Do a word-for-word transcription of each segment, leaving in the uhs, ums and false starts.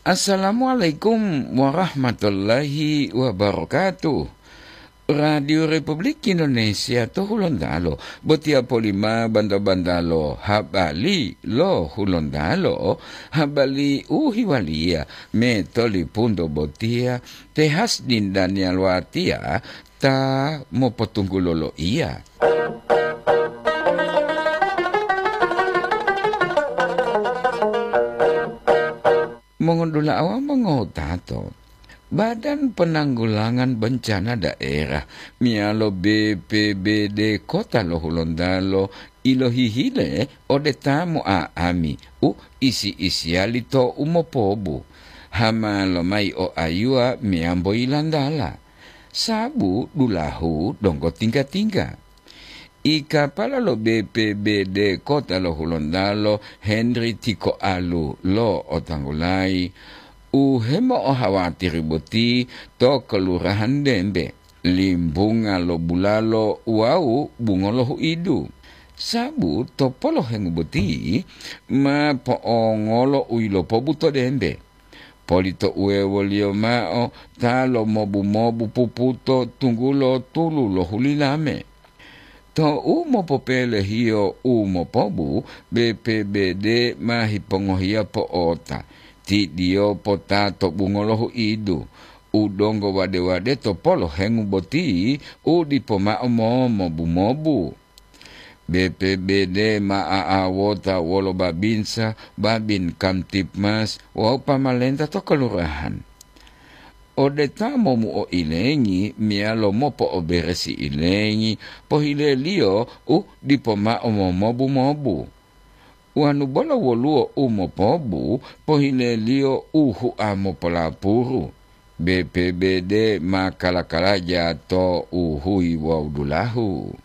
Assalamualaikum warahmatullahi wabarakatuh. Radio Republik Indonesia to Hulontalo, botiya polima banta-bantalo habali lo Hulontalo, habali u hiwaliya me tolipunto botiya te Hasdin Daniel Watiya ta mopotunggulo loiya. Mongodula'a wawu mongotato, Badan Penanggulangan Bencana Daerah meyalo B P B D Kota lo Hulontalo ilohihile ode ta mo'a'ami u isi-isiyali to umopobu, hama lomayi o ayuwa meyambo yilantala, sabu dulahu donggo tingga-tingga. Ikapala lo B P B D Kota lo Hulontalo Henry Tikoalu lo otanggulayi u hemo'ohawatiri boti to Kelurahan Dembe, Limbunga lo Bulalo wawu Bungo lo Huidu. Sabu to polohengu boti ma po'ongolo u yilopobu to Dembe. Polito uwewoliyo mao ta lomobu-mobu puputo tunggulo tulu lo hulilame. Tou mopopelehiyo u mopobu, B P B D ma hipongohiya po'ota, tidiyo pota to Bungo lo Huidu, u donggo wade-wade to polohengu boti u dipo mao momobu-mobu. B P B D ma a'awota wolo babinsa, babin Kamtibmas wawu pamalenta to kelurahan. Ode ta momuo ilengi meyalo mopo'oberesi ilengi, pohileliyo u dipo mao momobu-mobu. Wonu bolo woluwo u mopobu, pohileliyo u hua mopolapuru. B P B D ma kala-kalaja to u huyi wawu dulahu.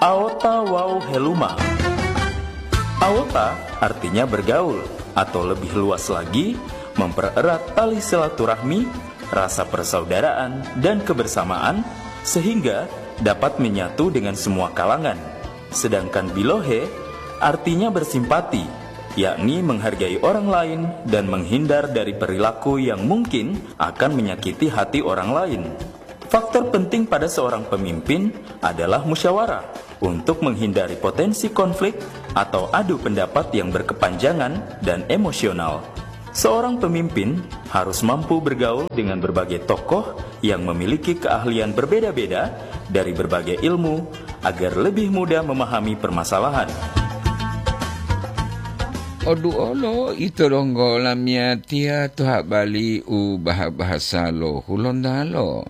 Aota wawu heluma. Aota artinya bergaul, atau lebih luas lagi, mempererat tali silaturahmi, rasa persaudaraan, dan kebersamaan, sehingga dapat menyatu dengan semua kalangan. Sedangkan bilohe artinya bersimpati, yakni menghargai orang lain dan menghindar dari perilaku yang mungkin akan menyakiti hati orang lain. Faktor penting pada seorang pemimpin adalah musyawarah untuk menghindari potensi konflik atau adu pendapat yang berkepanjangan dan emosional. Seorang pemimpin harus mampu bergaul dengan berbagai tokoh yang memiliki keahlian berbeda-beda dari berbagai ilmu agar lebih mudah memahami permasalahan. Oduolo ito donggo lamiyatiya to habali u baha-bahasa lo Hulontalo.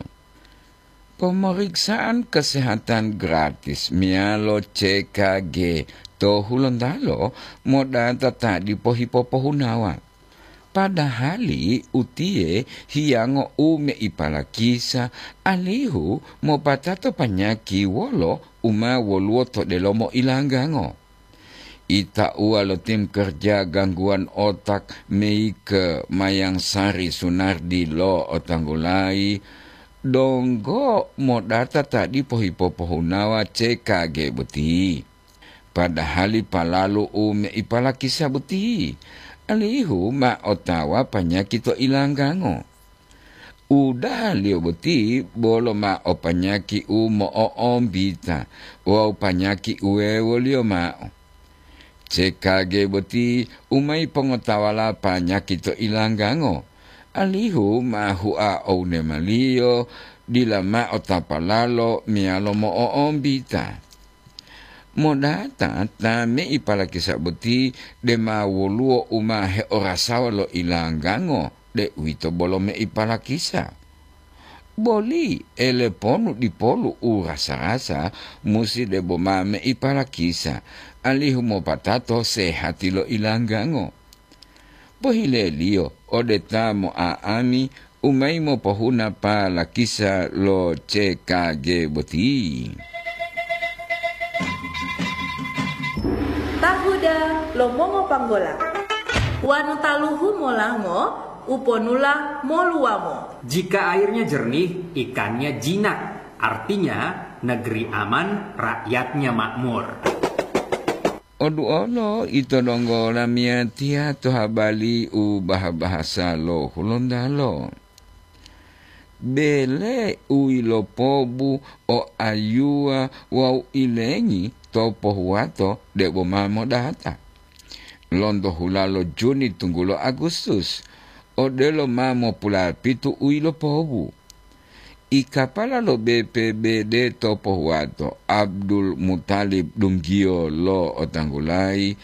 Pemeriksaan kesehatan gratis meyalo C K G to Hulontalo modata ta dipo hipopohunawa. Padahali utiye hiyango u meipalakisa alihu mopatato panyaki wolo u ma woluwo to delomo ilanggango. Itauwa lo tim kerja gangguan otak Meike Mayang Sari Sunardi lo otanggulayi, donggo modata ta dipo hipopohunawa C K G boti. Padahali palalu u meipalakisa boti, alihu ma otawa panyaki to ilanggango. Udahaliyo boti bolo ma o panyaki u mo'o'ombita wawu panyaki uwewoliyo ma'o. C K G boti u ma yipongotawala panyaki to ilanggango, alihu ma hua o unemaliyo dila ma'o tapalalo meyalo mo'o'ombita. Modata ta meipalakisa boti dema woluwo u ma heorasawa lo ilanggango, deuwito bolo meipalakisa. Boli eleponu dipolu u rasa-rasa musi debo ma meipalakisa, alihu mopatato sehati lo ilanggango. Pohileliyo ode ta mo'a'ami u ma yimopohuna palakisa lo C K G boti. Tahuda lo mongopanggola. Wanu taluhu molango, uponula moluwamo. Jika airnya jernih, ikannya jinak. Artinya, negeri aman, rakyatnya makmur. Oduolo ito donggo lamiyatiya to habali u baha-bahasa lo Hulontalo. Bele u yilopobu o ayuwa wawu ilengi to pohuwato debo ma modata. Lonto hulalo Juni tunggulo Agustus, odelo ma mopulapitu u yilopobu. I kapala lo B P B D to pohuwato, Abdul Mutalib dunggiyo lo otanggulayi,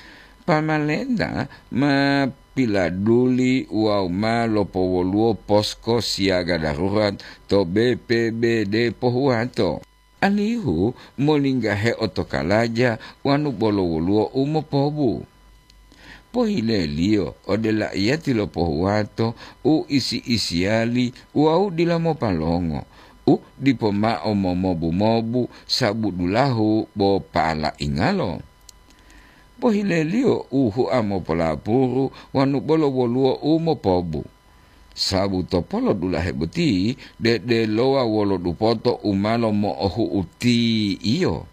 pamalenta ma piladuli wawu ma lopowoluwo posko siyaga darurat to B P B D pohuwato, alihu molinggahe otokalaja wanu bolo woluwo u mopobu. Pohileliyo ode laiyati lo pohuwato u isi-isiyali wawu dila mopalongo, u dipo mao momobu-mobu sabu dulahu bo palaingalo. Pohileliyo u hua mopolapuru wanu bolo woluwo u mopobu. Sabu to polo dulahe boti, dedelowa wolo dupoto u ma lomo'ohu'u tiyo.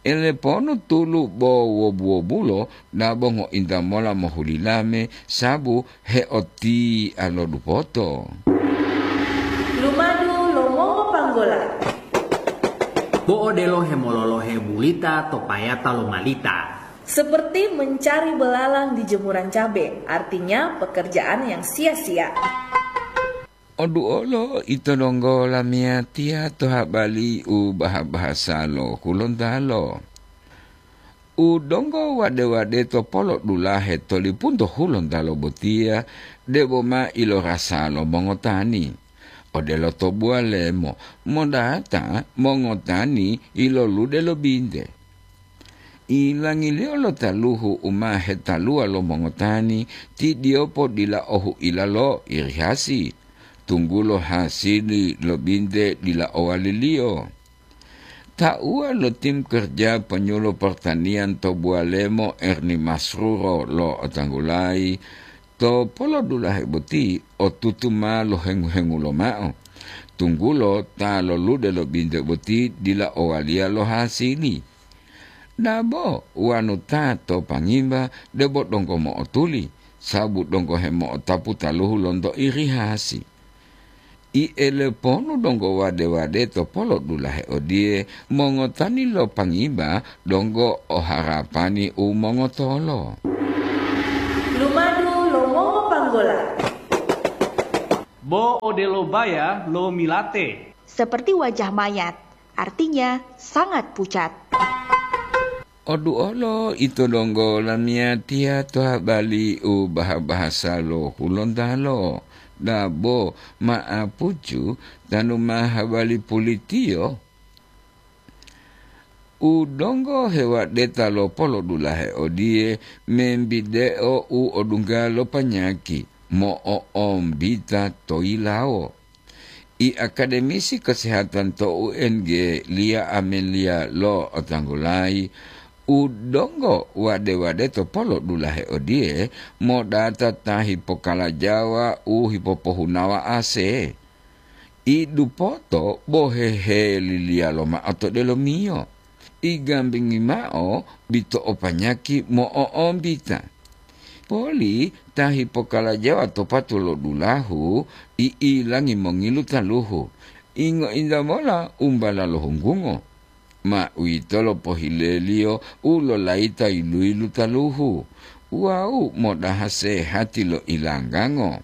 Eleponu tulu bo wobu-wobulo dabo ngointa mola mohulilame sabu heotia lo dupoto. Lumadu lo mongopanggola. Bo odelo hemololohe bulita to payata lo malita. Seperti mencari belalang di jemuran cabe, artinya pekerjaan yang sia-sia. Oduolo ito donggo lamiyatiya to habali u baha-bahasa lo Hulontalo. U donggo wade-wade to polo dulahe to lipunto Hulontalo botiya debo ma ilorasa lo mongotani. Odelo to buwalemo, modata mongotani ilolude lo binte. Ilangiliyo lo taluhu u ma hetaluwa lo mongotani, ti diyopo dila ohuila lo irihasi, tunggulo hasili lo binte dila owaliliyo. Tauwa lo tim kerja penyuluh pertanian to buwalemo Erni Masruro lo otanggulayi, to polodulahe boti otutu ma lohengu-hengu lomao, tunggulo ta lolude lo binte boti dila owaliya lo hasili. Dabo wanu ta to pangimba debo donggo mo'otuli, sabu donggo hemo'otapu taluhu lonto irihasi. I eleponu donggo wade-wade to polo dulahe odiye, mongotani lo pangimba donggo o harapani u mongotolo. Lumadu lo mongopanggola. Bo odelo baya lo milate. Seperti wajah mayat, artinya sangat pucat. Oduolo ito donggo lamiyatiya to habali u baha-bahasa lo Hulontalo, dabo ma'apucu tanu ma habali pulitiyo. U donggo hewadeta lo polodulahe odiye, membideo u odungga lo panyaki mo'oombita to yilawo. I akademisi kesehatan to U N G, Lia Amelia lo otanggulayi, u donggo wade-wade to polodulahe odiye, modata ta hipokalajawa u hipopohunawa ase. I dupoto bo heheliliya lomao to delomiyo. I gambingi mao bito o panyaki mo'oombita. Poli ta hipokalajawa to patu lo dulahu, i ilangi mongilu taluhu. Ingo-inta mola umbala lo hunggungo. Ma uwitolo pohileliyo u lolayita yilu-yilu taluhu wawu modaha sehati lo ilanggango.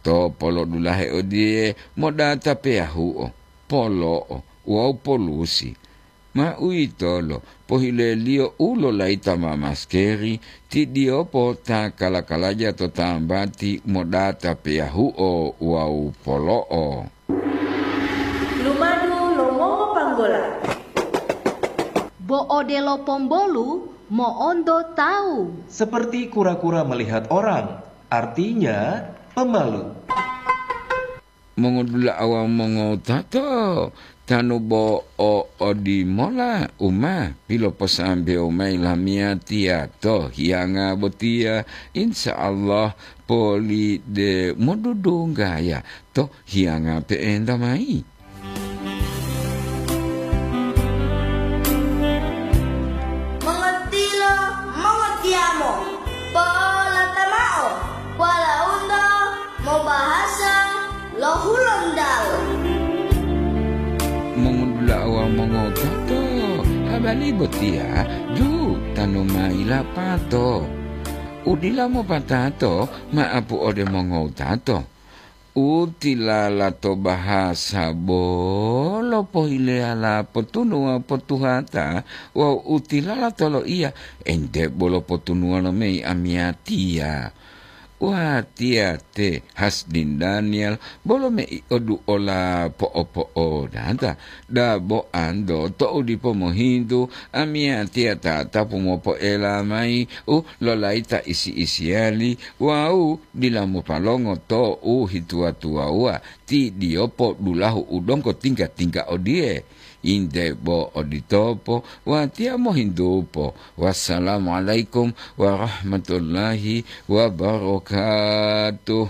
To polodulahe odiye modata peyahuo, polo'o wawu polusi. Ma uwitolo pohileliyo u lolayita ma maskeri, ti diyopo ta kala-kalaja to tambati modata peyahuo wawu polo'o. Lumadu lo mongopanggola. Bo odelo pombolu mo'onto tawu. Seperti kura-kura melihat orang, artinya pemalu. Mongodula'a wawu mongowutato, tanu bo o odimola u ma piloposambewo mayi lamiyatiya to hiyanga botiya, insya Allah poli de modudunggaya to hiyanga pe'enta mayi. Li botiya ju tanu mayi lapato. Udila mopatato ma'apu ode mongowutato. U tilala to bahasa bolo pohileyala potunuwa potuhata wawu u tilala to loiya ente bolo potunuwa lo mei amiyatiya. Watiya te Hasdin Daniel bolo mei oduola po'opo'odata, dabo anto to'u dipo mohintu, amiyatiya tatapu mopoela mayi u lolayita isi-isiyali wawu dila mopalongo to'u hituwa-tuwawuwa ti diyopo dulahu u donggo tingga-tingga odiye. Inde bo oditopo, watiya mohintupo. Wassalamualaikum warahmatullahi wabarakatuh.